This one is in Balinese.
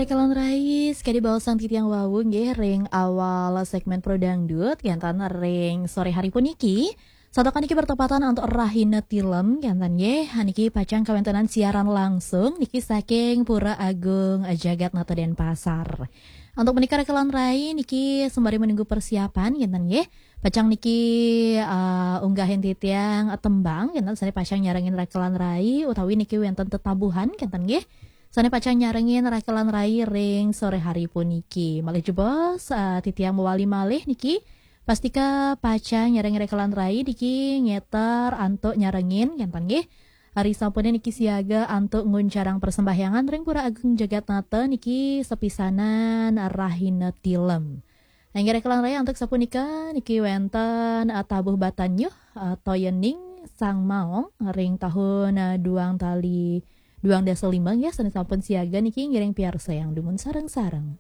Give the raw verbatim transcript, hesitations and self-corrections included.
Rekelan rai, sekadi baosan titiang wau nggih ring awal segmen Pro Dangdut, kénten ring sore hari puniki. Santukan niki bertepatan antuk rahina tilem, kénten nggih. Niki pacang kawéntenan siaran langsung niki saking Pura Agung Jagat Nata Denpasar. Antuk menika rekelan rai niki sembari menunggu persiapan, kénten nggih. Pacang niki, eh, unggahin titiang, eh, tembang, kénten sané pacang nyarengin rekelan rai, utawi niki wénten tetabuhan, kénten nggih. Sané pacang nyarengin rekelan rai ring sore hari puniki. Malih jebos, eh, titiang mawali malih niki. Pastika pacang nyarengin rekelan rai niki ngéter antuk nyarengin, kénten nggih. Ari sampuné niki siaga antuk nguncarang persembahyangan ring Pura Agung Jagat Nata niki sepisanan rahina tilem. Inggih rekelan rai antuk sapunika niki wénten, eh, tabuh batanyuh, eh, toyaning Sang Maong ring tahun, eh, duang tali duang dasa lima nggih, sané sampun siaga niki ngiring piarsayang dumun sareng-sareng.